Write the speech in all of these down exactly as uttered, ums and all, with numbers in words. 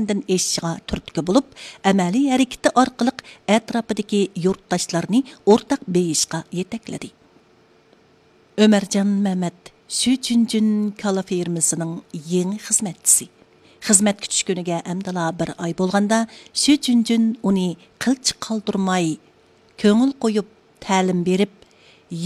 ئېشىشىغا تۈرتكە بولۇپ، ئەمەلىي ھەرىكىتى ئارقىلىق ئەتراپىدىكى يۇرتداشلارنى ئورتاق بېيىشقا يېتەكلىدى. ئۆمەرجان مەمەت، شۈ جۈنجۈن كالا فېرمىسىنىڭ يېڭى خىزمەتچىسى. خىزمەتكە چۈشكىنىگە ئەمدىلا بىر ئاي بولغاندا، شۈ جۈنجۈن ئۇنى قىلچە قالدۇرماي، كۆڭۈل قويۇپ تەلىم بېرىپ،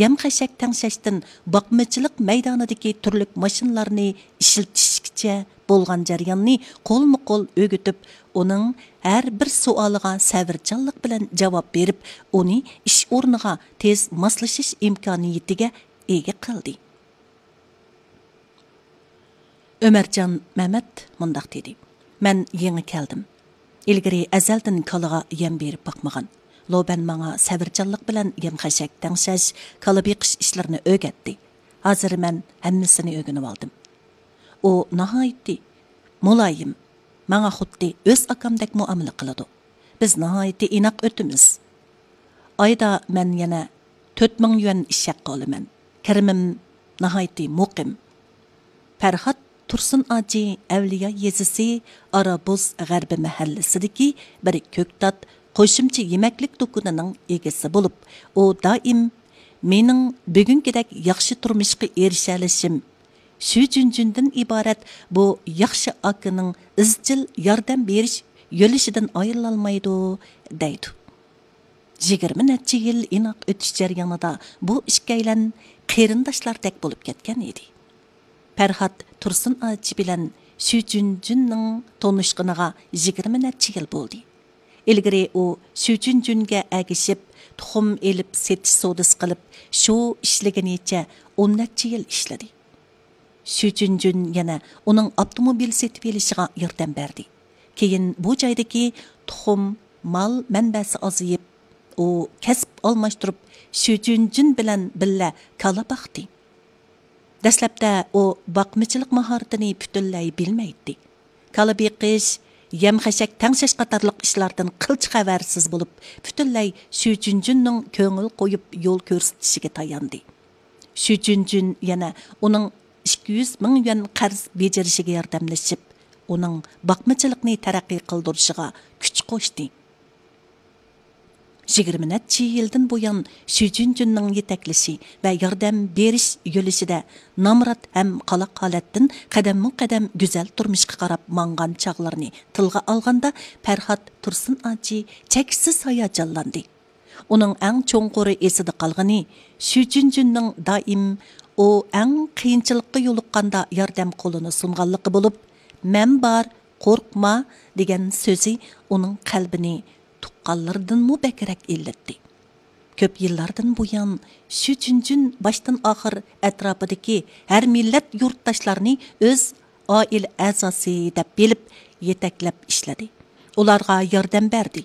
يەم-خەشەك تەڭشەشتىن باقمىچىلىق مەيدانىدىكى تۈرلۈك ماشىنىلارنى ئىشلىتىشكىچە بولغان جەرياننى قولمۇ قول ئۆگىتىپ، ئۇنىڭ ھەر بىر سوئالىغا سەۋرچانلىق بىلەن جاۋاب بېرىپ، ئۇنى ئىش ئورنىغا تېز ماسلىشىش ئىمكانىيىتىگە ئىگە قىلدى. ئۆمەرجان مەمەت مۇنداق دېدى: مەن يېڭى كەلدىم. ئىلگىرى ئەزەلدىن كالىغا يەم بېرىپ باقمىغان. لوبەن ماڭا سەۋرچانلىق بىلەن يەم-خەشەك تەڭشەش، كالا بېقىش ئىشلىرىنى ئۆگەتتى. ھازىر مەن ھەممىسىنى ئۆگىنىۋالدىم. ئۇ ناھايىتى مۇلايىم، ماڭا خۇددى ئۆز ئاكامدەك مۇئامىلە قىلىدۇ. بىز ناھايىتى ئىناق ئۆتىمىز. ئايدا مەن يەنە تۆت مىڭ يۈەن ئىش ھەققى ئالىمەن. كىرىمىم ناھايىتى مۇقىم. پەرھات تۇرسۇن ئاجى ئەۋلىيا يېزىسى ئارابۇز غەربىي مەھەللىسىدىكى بىر كۆكتات قوشۇمچە يېمەكلىك دۇكىنىنىڭ ئىگىسى بولۇپ، ئۇ دائىم مېنىڭ بۈگۈنكىدەك ياخشى تۇرمۇشقا ئېرىشەلىشىم شۈ جۈنجۈندىن ئىبارەت بۇ ياخشى ئاكىنىڭ ئىزچىل ياردەم بېرىش يۆلىشىدىن ئايرىلالمايدۇ، دەيدۇ. يىگىرمە نەچچە يىل ئىناق ئۆتۈش جەريانىدا بۇ ئىككىيلەن قېرىنداشلاردەك بولۇپ كەتكەن ئىدى. پەرھات تۇرسۇن ئاچى بىلەن شۈ جۈنجۈننىڭ تونۇشقىنىغا يىگىرمە نەچچە يىل بولدى. ئىلگىرى ئۇ شۈ جۈنجۈنگە ئەگىشىپ، تۇخۇم ئېلىپ سېتىش سودىسى قىلىپ، شۇ ئىشلىگىنىچە ئون نەچچە يىل ئىشلىدى. شۈ جۈنجۈن يەنە ئۇنىڭ ئاپتوموبىل سېتىۋېلىشىغا ياردەم بەردى. كېيىن بۇ جايدىكى تۇخۇم، مال مەنبەسى ئازىيىپ، ئۇ كەسىپ ئالماشتۇرۇپ، شۈ جۈنجۈن بىلەن بىللە كالا باقتى. دەسلەپتە ئۇ باقمىچىلىق ماھارىتىنى پۈتۈنلەي بىلمەيتتى. كالا بېقىش، يەم-خەشەك تەڭشەش قاتارلىق ئىشلاردىن قىلچە خەۋەرسىز بولۇپ، پۈتۈنلەي شۈ جۈنجۈننىڭ كۆڭۈل قويۇپ يول كۆرسىتىشىگە تاياندى. شۈ جۈنجۈن يەنە ئۇنىڭ ئىككى يۈز مىڭ يۈەن قەرز بېجىرىشىگە ياردەملىشىپ، ئۇنىڭ باقمىچىلىقنى تەرەققىي قىلدۇرۇشىغا كۈچ قوشتى. يىگىرمە نەچچە يىلدىن بۇيان، شۈ جۈنجۈننىڭ يېتەكلىشى ۋە ياردەم بېرىش يۆلىشىدە نامرات ھەم قالاق ھالەتتىن قەدەممۇ قەدەم گۈزەل تۇرمۇشقا قاراپ ماڭغان چاغلىرىنى تىلغا ئالغاندا، پەرھات تۇرسۇن ئاچى چەكسىز ھاياجانلاندى. ئۇنىڭ ئەڭ چوڭقۇر ئېسىدە قالغىنى شۈ جۈنجۈننىڭ دائىم ئۇ ئەڭ قىيىنچىلىققا يولۇققاندا ياردەم قولىنى سۇنغانلىقى بولۇپ، «مەن بار، قورقما» دېگەن سۆزى ئۇنىڭ قەلبىنى تۇغقانلىرىدىنمۇ بەكرەك ئىللىتتى. كۆپ يىللاردىن بۇيان، شۈ جۈنجۈن باشتىن ئاخىر ئەتراپىدىكى ھەر مىللەت يۇرتداشلارنى ئۆز ئائىلە ئەزاسى دەپ بىلىپ، يېتەكلەپ ئىشلىدى. ئۇلارغا ياردەم بەردى.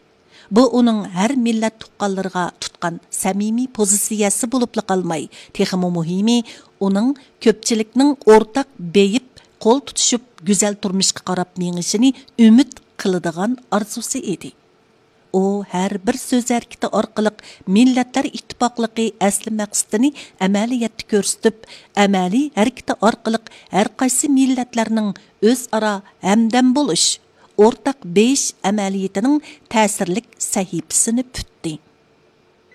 بۇ ئۇنىڭ ھەر مىللەت تۇغقانلىرىغا تۇتقان سەمىمىي پوزىتسىيەسى بولۇپلا قالماي، تېخىمۇ مۇھىمى، ئۇنىڭ كۆپچىلىكنىڭ ئورتاق بېيىپ، قول تۇتۇشۇپ، گۈزەل تۇرمۇشقا قاراپ مېڭىشىنى ئۈمىد قىلىدىغان ئارزۇسى ئىدى. ئۇ ھەر بىر سۆز ھەرىكىتى ئارقىلىق مىللەتلەر ئىتتىپاقلىقى ئەسلى مەقسىتىنى ئەمەلىيەتتە كۆرسىتىپ، ئەمەلىي ھەرىكىتى ئارقىلىق ھەرقايسى مىللەتلەرنىڭ ئۆزئارا ھەمدەم بولۇش، ئورتاق بېيىش ئەمەلىيىتىنىڭ تەسىرلىك سەھىپىسىنى پۈتتى.